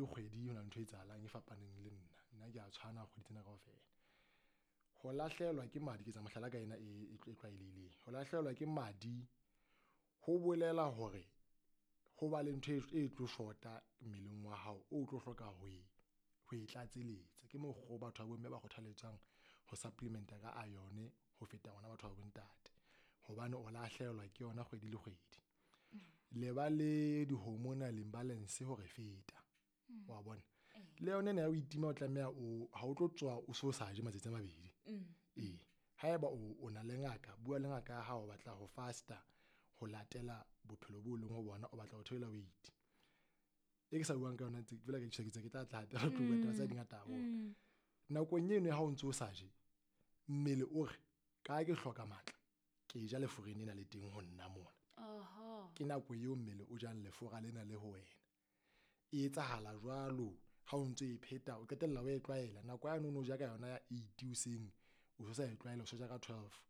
kgwedi ho na le ntho e etsahalang e fapaneng le nna. Nna ke a tshwana kgwedi tsena kaofela. Ho lahlehelwa ke madi, ke etsa mohlala ka ena e tlwaelehileng. Ho lahlehelwa ke madi ho bolela hore ho ba le ntho e tlo shota mmeleng wa hao, o tlo hloka ho e tlatseletsa. Ke mokgwa o batho ba bomme ba kgothaletswang ho supplement-a ka iron ho feta ngwana batho ba bontate, hobane o lahlehelwa ke yona kgwedi le kgwedi. Le ba le di-hormonal imbalance hore feta, wa bona. Le yona ena ya ho itima o tlameha o ha o tlo tswa o so sa je matsatsi a mabedi. Ee, haeba o na le ngaka, bua le ngaka ya hao, o batla ho fasta ho latela bophelo bo leng ho bona, o batla ho theola weight. E ke sa buang ka yona ntse fela ke tjho ke tla tla hape re tlo bua taba tsa di ngata haholo. Nakong eno ya ha o ntso o sa je, mmele o re ka ke hloka matla, ke ja leforeng lena le teng ho nna mona. Ke nako eo mmele o jang lefora lena le ho wena. E etsahala jwalo ha o ntso e pheta, o qetella o e tlwaela. Nako yane o no ja ka yona ya 8 hoseng, o so sa e tlwaela, o so ja ka 12.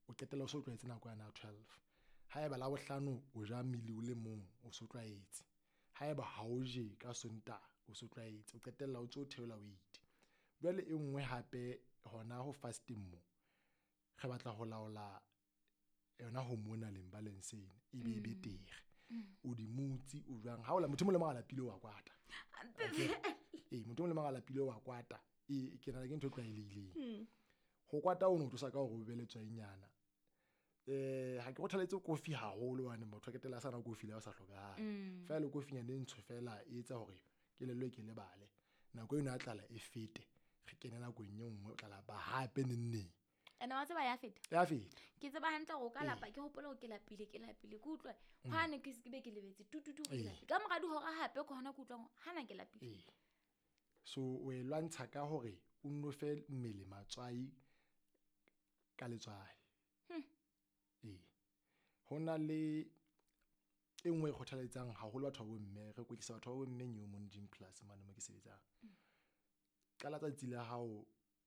O qetella o so tlwaetse nako yane ya 12. Haeba Labohlano o ja mmele o le mong, o so tlwaetse. Haeba ha o je ka Sontaha, o so tlwaetse, o qetella o ntso theola weight. Jwale e nngwe hape hona ho fasting mo, re batla ho laola yona hormonal imbalance ena e be betere. O di mutsi o jwang ha o la motho mo le mang a lapile wa kwata. Ee, motho mo le mang a lapile wa kwata. Ee, ke nahana ke ntho e tlwaelehileng. Ho kwata o no tlosa ka hore o be letswainyana. Ha ke kgothaletse kofi haholo hobane motho a qetella a sa nwa kofi le ha o sa hlokahale. Feela le kofinyana e ntsho fela e etsa hore kelello e ke lebale. Nako eno ya tlala e fete, re kene nakong e nngwe o tla lapa hape neng neng. Ene wa tseba ya feta? Ya feta. Ke tseba hantle hore o ka lapa, ke hopola hore ke lapile, ke lapile, ke utlwa hwane ke se ke be ke lebetse, tu, tu, tu, ke lapile. Ka mora dihora hape ke hona ke utlwang hore hana ke lapile. So o e lwantsha ka hore o nno fe mmele matswai ka letswai. Ho na le e nngwe e kgothaletsang haholo batho ba bomme, re kwetlisa batho ba bomme New Moon Gym Plus mane mo ke sebetsang. Qala tsatsi la hao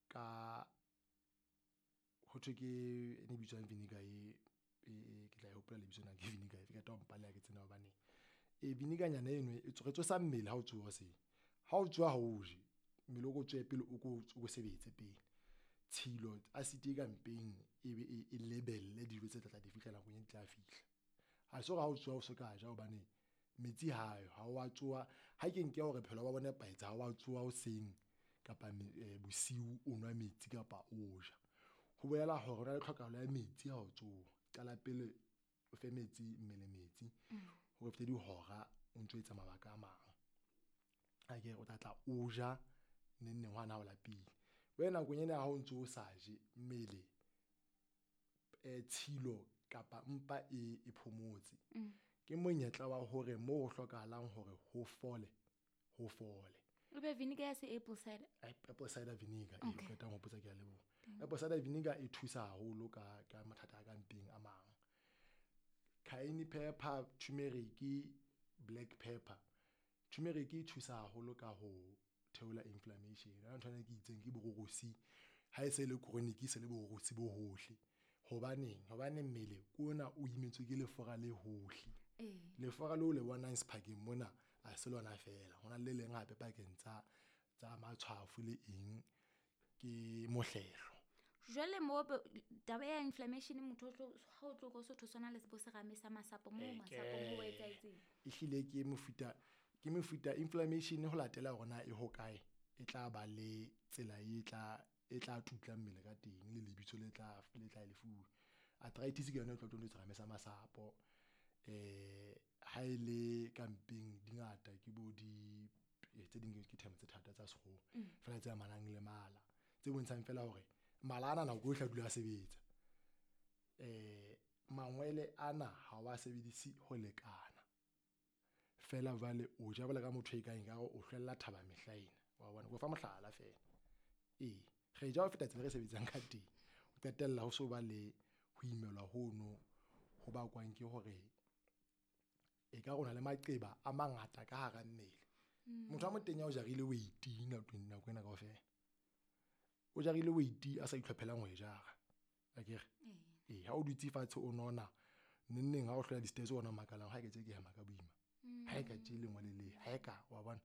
ka ho thwe ke e ne bitswang vinegar e, ke tla e hopola lebitso na ke vinegar efe, ka twa mpaleha ke tsena hobane. Vinegar nyana eno e re tsosa mmele ha o tsoha hoseng. Ha o tsoha ha o je, mmele o ko tswe pele o ko sebetse pele. Tshilo acid e ka mpeng e be e lebelle dijo tse tla tla di fihla nakong e di tla fihla. Ha se hore ha o tsoha o so ka ja hobane metsi ha ayo, ha wa tsoha. Ha ke nke hore bophelo ba bo nepahetse, ha wa tsoha hoseng kapa bosiu o nwa metsi kapa o ja. Ho bolela hore ho na le tlhokahalo ya metsi ha o tsoha. Qala pele o fe metsi mmele metsi, hore fete dihora o ntso etsa mabaka a mang. A ke o tla tla o ja neng neng hwana ha o lapile. Wena nakong ena ha o ntso o sa je mmele, tshilo kapa mpa e phomotse. Ke monyetla wa hore moo ho hlokahalang hore ho fole, ho fole. O be vinegar ya se apple cider? Apple cider vinegar, e qetang ho potsa ke a leboha. Apple cider vinegar e thusa haholo ka mathata a ka mpeng a mang. Cayenne pepper, turmeric, black pepper. Turmeric e thusa haholo ka ho theola inflammation. Ha ntho ena ke itseng ke bororosi, ha e se le chronic e se le bororosi bo hohle. Hobaneng? Hobane mmele ke ona o imetswe ke lefora le hohle. Lefora leo le bonang sephakeng mona ha se lona fela, ho na le le leng hape pakeng tsa matshwafo le eng ke mohlehlo. Jwale mo taba ya inflammation motho o tlo, ha o tlo go sotho sona le bo serame sa masapo mo masapo ho etsahetseng. Ehlile ke mofuta, ke mofuta inflammation ho latela hore na e hokae, e tla ba le tsela e tla tutla mmele ka teng le lebitso le tla, le tla le fuwa. Arthritis ke yona e tlo tlo serame sa masapo. Ha e le ka mpeng di ngata ke bo di, tse ding ke term tse thata tsa sekgowa. Fela tse amanang le mala, tse bontshang fela hore mala ana nako yohle a dula a sebetsa. Mangwele ana ha wa sebedise ho lekana. Fela jwale o ja jwalo ka motho e kang ekare o hlwella thaba mehla ena. Wa bona, ke o fa mohlala fela. Ee, re ja ho feta tsela re sebetsang ka teng. O qetella ho so ba le ho imelwa hono ho bakwang ke hore e ka rona le maqeba a mangata ka hara mmele. Motho a motenya o jarile weight nako ena kaofela. O jarile weight a sa itlhophelang ho e jara. Akere? Ee, ha o dutse fatshe o nona, neng neng ha o hlola di-stairs ona makalang, ha e ka tje ke hema ka boima. Ha e ka tje lengwe le le, ha e ka, wa bona.